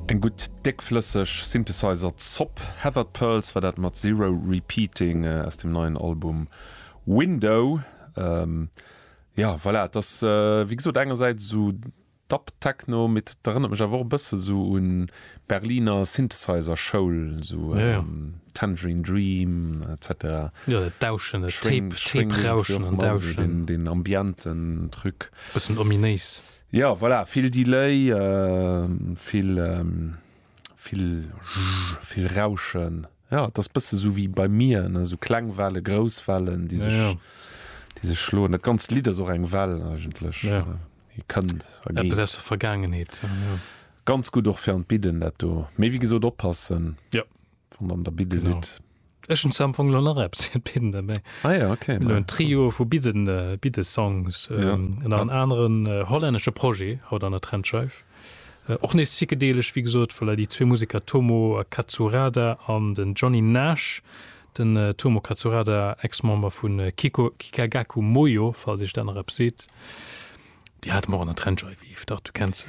Eng gutt déckflësseg Synthesizer-Zopp. Heathered Pearls war dat mat Zero Repeating aus dem neien Album Window. Jo, voilà, et ass wéi gesot engersäits esou Dub-Techno, mee et erënnert mech awer och e bësse sou un Berliner Synthesizer-Schoul, sou Tangerine Dream etc. Jo, dat Dauschen, dat Tape, Tape-Rauschen an Dauschen. Deen ambienten Truc. Bëssen ominéis. Jo, voilà, vill Delay, vill, vill, vill Rauschen. Jo, et ass bësse sou wéi bei mir, ne, sou kleng Welle, grouss Wellen, déi sech, déi sech schloen. Dat ganzt Lidd ass och eng Well eigentlech. Déi kënnt a geet. Eppes aus der Vergaangenheet, jo. Ganz gutt och fir an d'Bidden dat do. Mee wéi gesot oppassen, Jo. wann der an der Bidde Genau. sidd. Ech hunn zwar am Fong elo nach eppes fir d'Bidden derbäi. Ah ja, okay. Mir hunn elo en Trio vu Bidden, Biddesongs, Ja. nach en aneren hollännesche Projet haut an der Trendscheif. Och nees psychedeelesch, wéi gesot, voilà, déi zwee Museker Tomo Katsurada an den Johnny Nash. Den Tomo Katsurada, Ex-Member vu Kiko Kikagaku Moyo, falls iech dat nach eppes seet. Déi hate mer och an der Trendscheif, Yves, dach, du kenns se.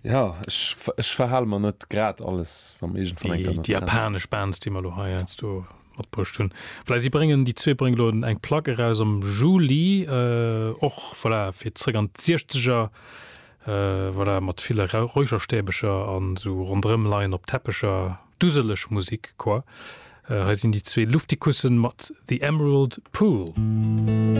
Ja, ech, ech verhale mer net grad alles, wa mer iergendwann eng Kéier an der Déi japanesch Bands, déi mer elo hei heiansdo matbruecht hunn. Voilà, si bréngen, déi zwee bréngen elo eng Plack eraus am Juli, och, voilà, fir zréck an d'Siechzeger, voilà, mat ville Räucherstäbecher an esou ronderëm leien op Teppecher. Duseleg Musik, quoi. Hei sinn déi zwee Luftikussen mat The Emerald Pool.